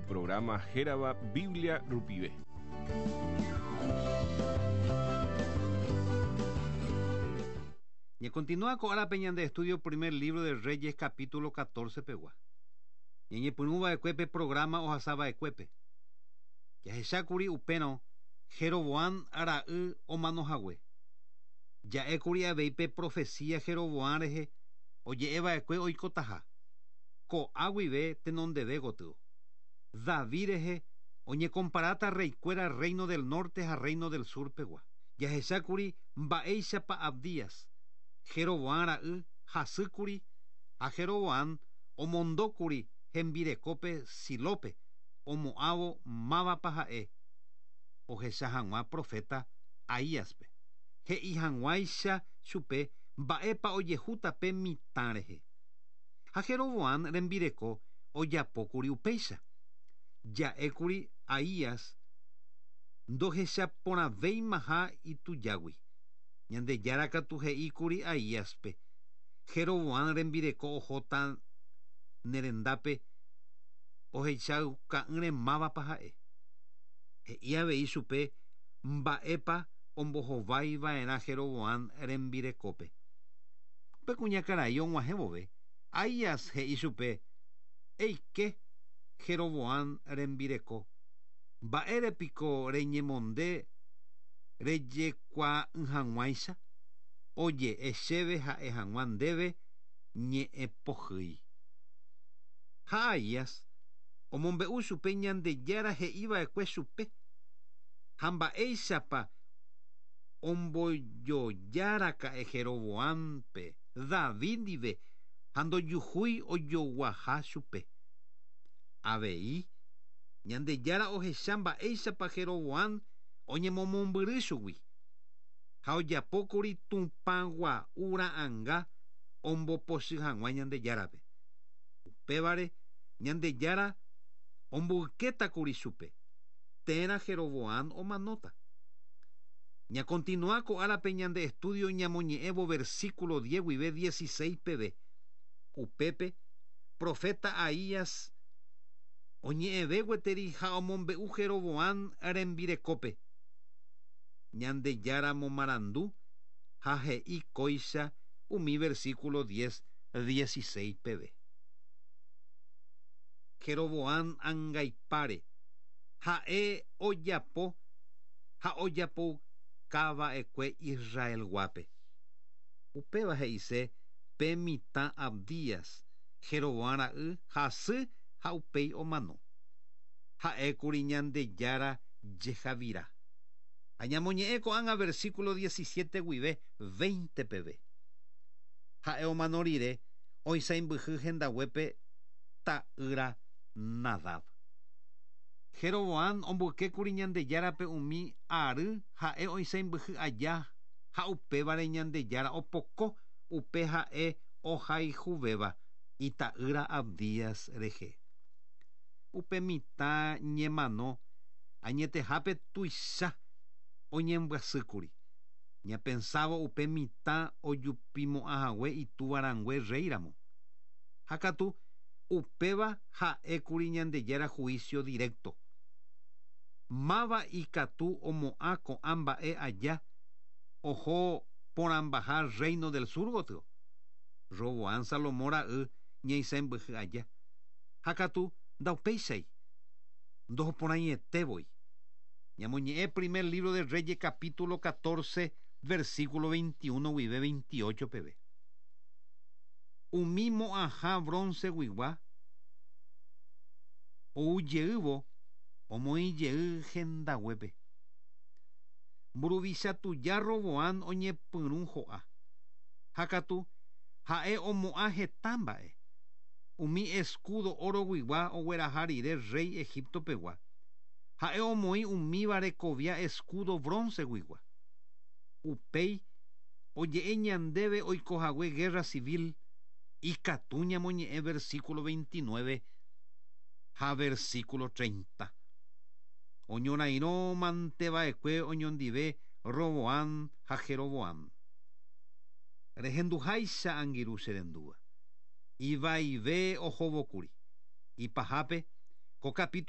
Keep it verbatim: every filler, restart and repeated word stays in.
Ko programa hérava Biblia rupive. Y continúa ko árape ñande estudio primer libro de Reyes capítulo catorce pegua. Ñañepyrũ va'ekue pe programa ohasava'ekuépe. Jahechákuri upérõ Jeroboam ra'y omanohague. Ja'ékuri avei pe profecía Jeroboam rehe oje'eva'ekue oikotaha. Ko'a guive tenondeve gotyo. David rehe oñecomparáta reykuéra reino del norte ha reino del sur pegua. Jahechákuri mba'éichapa Abdías Jeroboam ra'y hasýkuri ha Jeroboam omondókuri hembirekópe Silópe omo'ãvo mávapa ha'e ohecha hag̃ua profeta Ahíaspe. He'i hag̃uáicha chupe mba'épa ojehúta pe mitã rehe. Ha Jeroboam rembireko ojapókuri upéicha. Ja'ékuri Ahías ndohechaporãvéimaha itujágui. Ñandejára katu he'íkuri Ahíaspe Jeroboam rembireko ohóta nerendápe ohechauka'ỹre mávapa ha'e. He'i avei chupe mba'épa ombohovaiva'erã Jeroboam rembirekópe. Upe kuñakarai og̃uahẽ vove Ahías he'i chupe eike Jeroboam rembireko mba'érepiko reñemonde rejekuaa'ỹ hag̃uáicha oje'e chéve ha'e hag̃ua ndéve ñe'ẽpohýi. Ha Ahías omombe'u chupe Ñandejára he'iva'ekue chupe ha mba'éichapa ombojojáraka'e Jeroboampe David ndive ha ndojuhúi ojoguaha chupe. Avei Ñandejára ohecha mba'éichapa Jeroboam oñemomombyry chugui ha ojapókuri tupãgua'u ra'ãnga ombopochy hag̃ua Ñandejárape. Upévare Ñandejára omboykétakuri chupe térã Jeroboam omanóta. Ñacontinúa ko árape ñande estudio ñamoñe'ẽvo versículo diez guive dieciséis peve. Upépe profeta Ahías oñe'ẽve gueteri ha omombe'u Jeroboam rembirekópe. Ñandejára momarandu ha he'i kóicha umi versículo diez dieciséis peve. Jeroboam angaipáre ha'e ojapo ha ojapoukava'ekue Israelguápe. Upéva he'ise pe mitã Abdías Jeroboam ra'y hasy ha upéi omano. Ha'ékuri Ñandejára jehavira. Ha ñamoñe'ẽ ko'ág̃a versículo diecisiete guive veinte peve. Ha'e omano rire oisãmbyhy hendaguépe ta'ýra Nadab. Jeroboam omboykékuri Ñandejárape umi ary ha'e oisãmbyhy aja ha upévare Ñandejára opoko upe ha'e ohayhuvéva ita'ýra Abdías rehe. Upe mitã ñemano añetehápe tuicha oñembyasýkuri. Ñapensávo upe mitã ojupimo'ãhague itúvarangue rréiramo. Ha katu upéva ha'ékuri Ñandejára juicio directo. Máva ikatu omo'ã ko'ã mba'e aja oho porãmbaha reino del sur gotyo. Roboam Salomón ra'y ñaisãmbyhy aja. Ha katu ndaupéichai ndohoporãietevoi. Ñamoñe'ẽ primer libro de Reyes capítulo catorce versículo veintiuno guive veintiocho peve. Umi mo'ãha bronce guigua oujeývo omoĩjey hendaguépe. Mburuvicha tuja Roboam oñepyrũ ho'a. Ha katu ha'e omo'ã heta mba'e. Umi escudo oro guigua ogueraha rire rey Egipto pegua. Ha'e omoĩ umíva rekovia escudo bronce guigua. Upéi oje'e ñandéve oikohague guerra civil ikatu ñamoñe'ẽ versículo veintinueve ha versículo treinta. Oñorairõ manteva'ekue oñondive Roboam ha Jeroboam. Rehenduháicha angirũ che rendúva. Ivaive ohóvokuri. Ipahápe ko capítulo